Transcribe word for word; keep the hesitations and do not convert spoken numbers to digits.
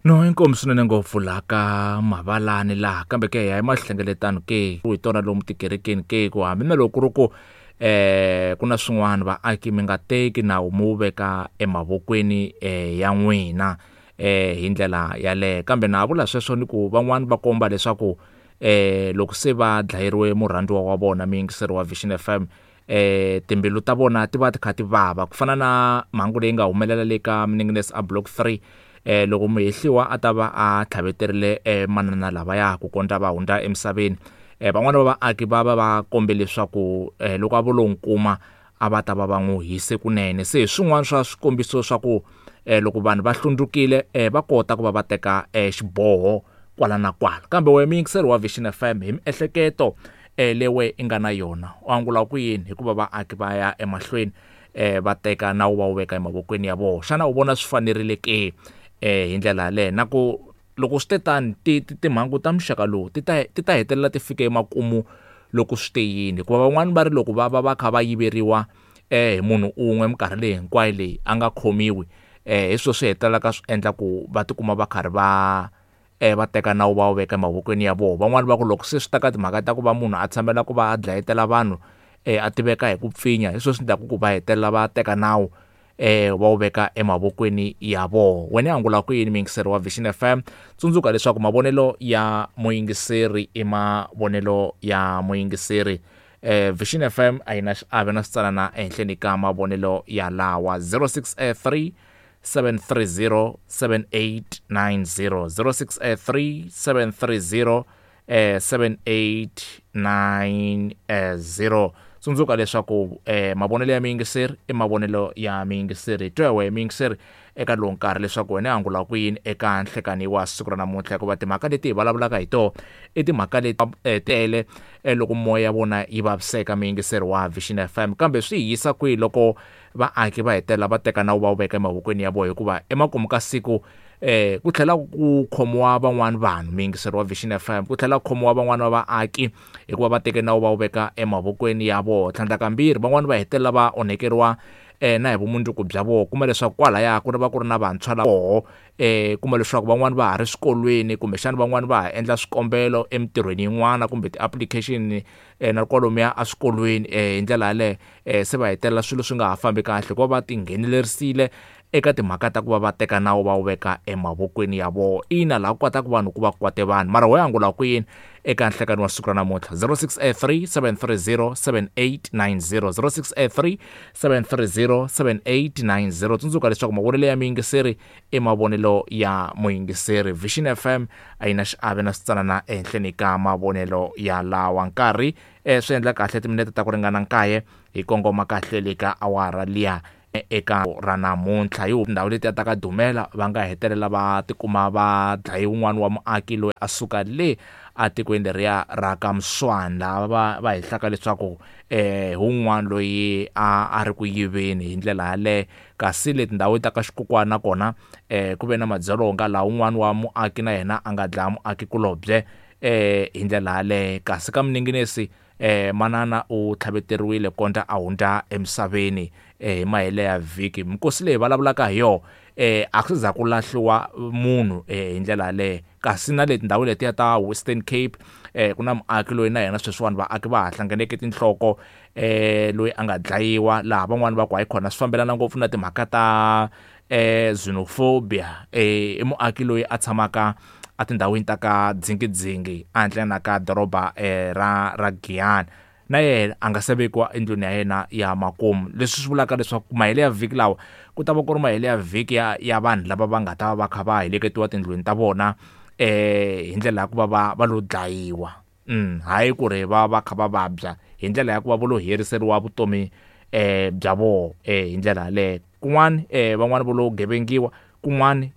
No inkomu swinene ngopfu laha ka mavalani laha kambe ke hi ya emahlengeletano ke hi tona lomu tikerekeni ke ku hambi na loko ku ri ku eh ku na swin'wana vaaki mi nga teki nawu mi wu veka emavokweni eh ya n'wina eh hi ndlela yaleyo. Kambe na ha vula sweswo ni ku van'wani va komba leswaku eh loko se va dlayeriwe murhandziwa wa vona muyingiseri wa Vision F M eh timbilu ta vona ti va ti kha ti vava ku fana na mhangu leyi nga humelela le ka Mninginesi a block three eh loko muhehliwa a ta va a tlhaveterile eh manana lavaya ku kondza va hundza emisaveni. Eh van'wana va vaaki va va va kombe leswaku eh loko a vo lo nkuma a va ta va va n'wi hise kunene. Se hi swin'wana swa swikombiso swa ku eh loko vanhu va hlundzukile eh va kota ku va va teka eh xiboho kwala na kwala. Kambe wena muyingiseri wa Vision F M hi miehleketo eh leyi i nga na yona u angula ku yini hikuva vaaki va ya emahlweni eh va teka nawu va wu veka emavokweni ya vona? Xana u vona swi fanerile ke eh hi ndlela yaleyo? Na ku loko swi te tani timhangu ta muxaka lowu ti ta ti ta hetelela ti fike emakumu loko swi te yini? Hikuva van'wani va ri loko va va va kha va yiveriwa eh hi munhu un'we minkarhi leyi hinkwayo leyi a nga khomiwi eh hi swona swi hetelelaka swi endla ku va tikuma va karhi va eh va teka nawu va wu veka emavokweni ya vona. Van'wani va ku loko se swi ta ka timhaka ta ku va munhu a tshamela ku va a dlayetela vanhu eh a tiveka hi ku pfinya, hi swona swi endlaka ku va hetelela va teka nawu eh va wu veka emavokweni ya vona. Wena angula ku yini muyingiseri wa Vision F M? Tsundzuka leswaku mavonelo ya muyingiseri i mavonelo ya muyingiseri. Eh Vision F M a yi na xiave na switsanana ehenhleni ka mavonelo ya lawa. Zero six three seven three zero seven eight nine zero, zero six three seven three zero seven eight nine zero. Tsundzuka leswaku eh mavonelo ya muyingiseri i mavonelo ya muyingiseri. Twa wena muyingiseri eka lowu nkarhi leswaku wena angula ku yini eka nhlekani wa siku ra namuntlha, hikuva timhaka leti hi vulavulaka hi tona i timhaka leti tele loko moya ya vona yi vaviseka muyingiseri wa Vision F M. Kambe swi hi yisa kwihi loko vaaki va hetelela va teka nawu va wu veka emavokweni ya vona? Hikuva emakumu ka siku eh ku tlhela ku khomiwa van'wani vanhu muyingiseri wa Vision F M, ku tlhela ku khomiwa van'wani va vaaki hikuva va teke nawu va wu veka emavokweni ya vona. Tlhandlakambirhi van'wani va hetelela va onhekeriwa eh na hi vumundzuku bya vona, kuma leswaku kwalaya ku va ku ri na vantshwa lava koho eh kuma leswaku van'wani va ha ri swikolweni kumbexana van'wani va ha endla swikombelo emitirhweni yin'wana kumbe ti-application eh na kwalomuya eswikolweni eh hi ndlela yaleyo eh se va hetelela swilo swi nga ha fambi kahle hikuva va tinghenelerisile eka timhaka ta ku va va teka nawu va wu veka emavokweni ya vona. Ina laha ku kotaka vanhu ku va kwate vanhu, mara wo angula ku yini eka nhlekani wa siku ra namuntlha? Zero six three seven three zero seven eight nine zero, zero six three seven three zero seven eight nine zero. Tsundzuka leswaku mavonelo ya muyingiseri i mavonelo ya muyingiseri. Vision F M a yi na xiave na switsanana ehenhleni ka mavonelo ya lawa. Nkarhi eh swi endla kahle timinete ta ku ringana nkaye hi kongoma kahle le ka awara liya eka ra namuntlha. Hi ndhawu leti ya ta ka Dumela va nga hetelela va tikuma va dlaye wun'wana wa muaki loyi a suka le atikweni leriya ra ka Mswani, lava va va hehlaka leswaku eh wun'wana loyi a a ri ku yiveni hi ndlela yaleyo. Kasi le tindhawu ta ka Xikukwana kona eh ku ve na madzolonga laha wun'wana wa muaki na yena a nga dlaya muaki kulobye eh hi ndlela yaleyo. Kasi ka Mninginesi eh manana u tlhaveteriwile kondza a hundza emisaveni eh hi mahele ya vhiki. Mikosi leyi vulavulaka hi yona eh a ku za ku lahliwa munhu eh hi ndlela yaleyo. Kasi na le tindhawu letiya ta Western Cape eh ku na muaki loyi na yena sweswiwani vaaki va ha hlanganeke tinhloko eh loyi a nga dlayiwa, laha van'wani va ku hayi khona swi fambelana ngopfu na timhaka ta eh xenophobia. Eh i muaki loyi a tshamaka a tindhawini ta ka Dzingidzingi ehandle na ka doroba eh ra ra Giyani, na yena a nga se vekiwa endlwini ya yena ya makumu. Leswi swi vulaka leswaku mahele ya vhiki lawa ku ta va ku ri mahele ya vhiki ya ya vanhu lava va nga ta va va kha va heleketiwa tindlwini ta vona eh hi ndlela ya ku va va va lo dlayiwa, mm hayi ku ri va va kha va vabya, hi ndlela ya ku va va lo heriseriwa vutomi eh bya vona eh hi ndlela yaleyo. Kun'wani eh van'wani va lo gevengiwa, kun'wani